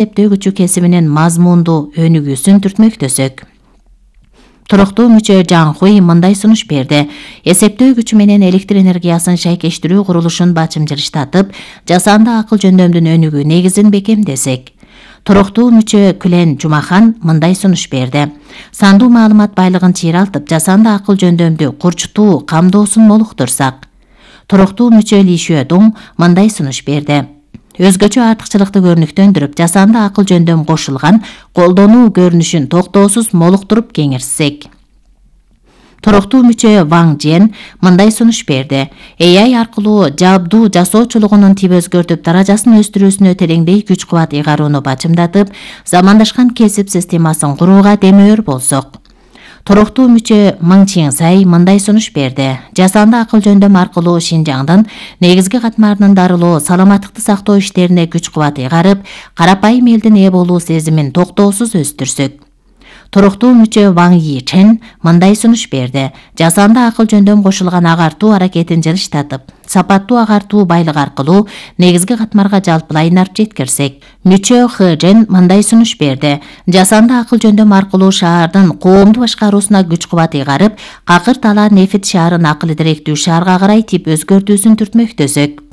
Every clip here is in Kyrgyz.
эсептөө күчү кесиминин мазмундуу өнүгүүсүн түртмөктөсөк. Туруктуу мүчө Жан Хуй мындай сунуш берди. Эсептөө күчү менен электр энергиясын шайкештирүү курулушун бачымжырыштатып, жасанды акыл жөндөмдүн өнүгүү негизин бекемдесек. Туруктуу мүчө Күлен Жумахан мындай сунуш берди. Сандуу маалымат байлыгын чыйралтып, жасанды акыл жөндөмдү курчутуу камдоосун молуктурсак. Туруктуу мүчө Ли Шуэдуң мындай сунуш берди. Өзгөчө артыкчылыкты көрүнүктөндүрүп, жасанды акыл жөндөм кошулган колдонуу көрүнүшүн токтоосуз молуктуруп кеңирсек. Туруктуу мүчө Ваң Жен мындай сунуш берди. AI аркылуу жабдуу жасоочулугунун тип өзгөртүп, даражасын өстүрүүсүнө тереңдей күч кубат ыйгарууну бачымдатып, замандашкан кесип системасын курууга демөөр болсок. Туруктуу мүчө Мың Чиңсай мындай сунуш берди. Жасанды акыл жөндөм аркылуу Шинжаңдын негизги катмарынын дарылоо, саламаттыкты сактоо иштерине күч кубат ыйгарып, карапайым элдин ээ болуу сезимин токтоосуз өстүрсөк. Туруктуу мүчө Ваң Йичен мындай сунуш берди. Жасанды акыл жөндөм кошулган агартуу аракетин жылыштатып, сапаттуу агартуу байлык аркылуу негизги катмарга жалпылай нарп жеткирсек. Мүчө Хэжен мындай сунуш берди. Жасанды акыл жөндөм аркылуу шаардын коомду башкаруусуна күч кубат ыйгарып, какыр талаа нефит шаарын акыл идиректүү шаарга карай тип өзгөртүүсүн түртмөктөсөк.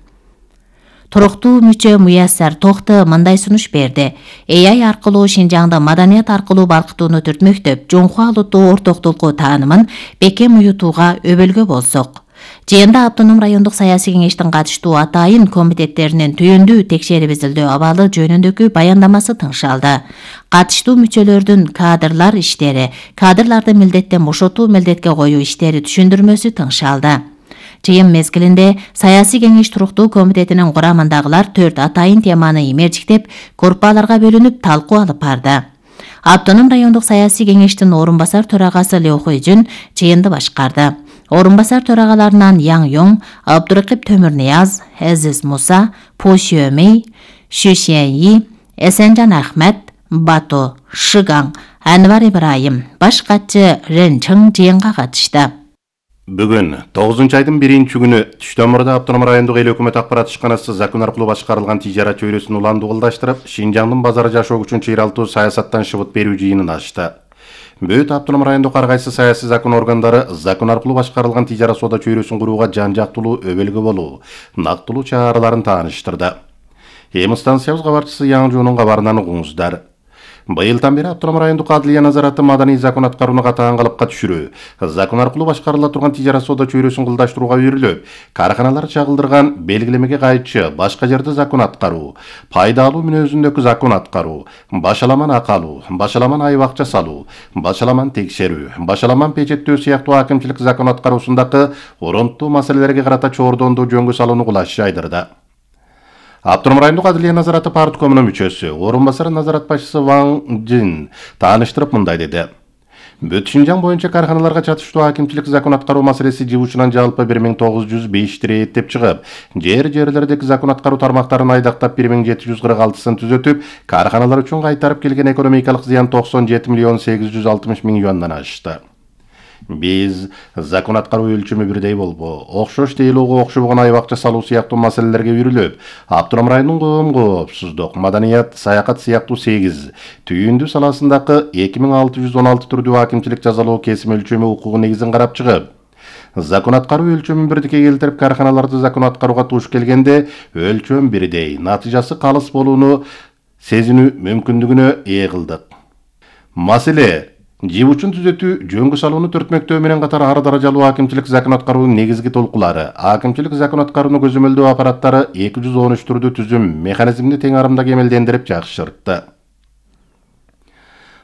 Туруктуу мүчө Муяссар Тохты мындай сунуш берди. AI аркылуу Шинжаңды маданият аркылуу балкытууну түртмөктөп, жоңхуа улуттуу ортоктулуку таанымын бекем уютууга өбөлгө болсок. Жыйында Автоном райондук саясий кеңештин катыштуу атайын комитеттеринин түйүндүү текшерип изилдөө абалы жөнүндөгү баяндамасы тыңшалды. Катыштуу мүчөлөрдүн кадрлар иштери, кадрларды милдеттен бошотуу, милдетке коюу иштери түшүндүрмөсү тыңшалды. Жыйын мезгилинде саясий кеңеш туруктуу комитетинин курамындагылар 4 атайын теманы имерчиктеп, группаларга бөлүнүп талкуу алып барды. Автоном райондук саясий кеңештин орун басар төрагасы Лё Хойжун жыйынды башкарды. Орун басар төрагаларынан Яң Йоң, Абдуракып Төмүрнияз, Азиз Муса, По Шөмей, Шу Шеньи, Эсенжан Ахмет, Бато Шыгаң, Анвар Ибраим, баш катчы Рен Чың жыйынга катышты. Бүгүн 9-айдын 1-күнү Түштөмүрдө Автоном райондук эл өкмөт акпарат ишканасы закон аркылуу башкарылган тижарат чөйрөсүн уланды кылдаштырып, Шинжаңдын базары жашоо күчүн чыйралтуу саясаттан шыбыт берүү жыйынын ачты. Бүт Автоном райондук ар кайсы саясий закон органдары закон аркылуу башкарылган тижарат соода чөйрөсүн курууга жан жактылуу өбөлгө болуу, нактылуу чараларын тааныштырды. Эми станциябыз кабарчысы Яң Жоонун кабарынан угуңуздар. Быйылдан бери Автоном райондук адылия назараты маданий закон аткарууну катаан калыпка түшүрүү, закон аркылуу башкарыла турган тижарат соода чөйрөсүн кылдаштырууга үйрүлүп, карканалар чагылдырган белгилемеге кайтчы башка жерде закон аткаруу, пайдалуу мүнөзүндөгү закон аткаруу, башаламан акы алуу, башаламан айбакча салуу, башаламан текшерүү, башаламан печеттөө сыяктуу акимчилик закон аткаруусундагы оронттуу маселелерге карата чоордондуу жөнгө салууну кулаш жайдырды. Автоном райондук адылия назараты парткомунун мүчөсү, орун басары назарат башчысы Ваң Жин тааныштырып мындай деди. Бүт Шинжаң боюнча карканаларга чатыштуу акимчилик закон аткаруу маселеси жыл жалпы 1905 иреттеп чыгып, жерлердеги закон аткаруу тармактарын айдактап 1746-сын түзөтүп, карканалар үчүн кайтарып келген экономикалык зыян 97,860,000 юандан ашты. Биз закон аткаруу өлчөмү бирдей болбу, окшош тейлоого окшобогон айбакча салуу сыяктуу маселелерге үйрүлүп, Автоном районунун коомсуздук, маданият, саякат сыяктуу 8 түйүндүү саласындагы 2616 түрдүү акимчилик жазалоо кесим өлчөмү укугу негизин карап чыгып, закон аткаруу өлчөмүн бирдикке келтирип, карканаларды закон аткарууга туш келгенде өлчөм бирдей, натыйжасы калыс болууну сезинүү мүмкүндүгүнө ээ кылдык. Маселе жибучун түзөтүү, жөнгө салууну түртмөктөө менен катар ар даражалуу акимчилик закон аткаруунун негизги толкулары, акимчилик закон аткарууну көзөмөлдөө аппараттары 213 түрдүү түзүм механизмди тең арымда кемелдендирип жакшыртты.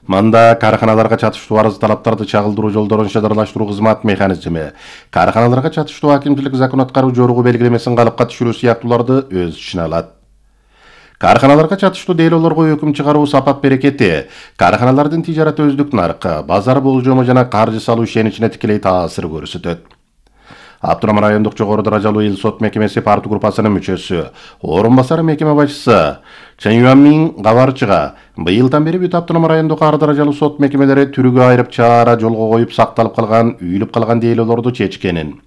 Мында карканаларга чатыштуу арыз талаптарды чагылдыруу жолдорун шаардарлаштыруу кызмат механизми, карканаларга чатыштуу акимчилик закон аткаруу жоругу белгилемесин калыпка түшүрүү сыяктууларды өз ичине алат. Карканаларга чатыштуу дейлоолорго өкүм чыгаруу сапат берекети, карканалардын тижарат өздүк наркы, базар болжому жана каржы салуу ишеничине тикелей таасир көрсөтөт. Автоном райондук жогору даражалуу эл сот мекемеси парт группасынын мүчөсү, орун басары мекеме башчысы Чен Юанмин кабарчыга быйылдан бери бүт Автоном райондук ар даражалуу сот мекемелери түрүгө айрып чаара жолго коюп сакталып калган, үйүлүп калган дейлоолорду чечкенин.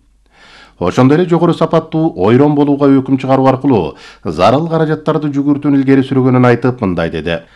ошондой эле жогору сапаттуу ойрон болууга өкүм чыгаруу аркылуу зарыл каражаттарды жүгүртүүнү илгери сүргөнүн айтып, мындай деди: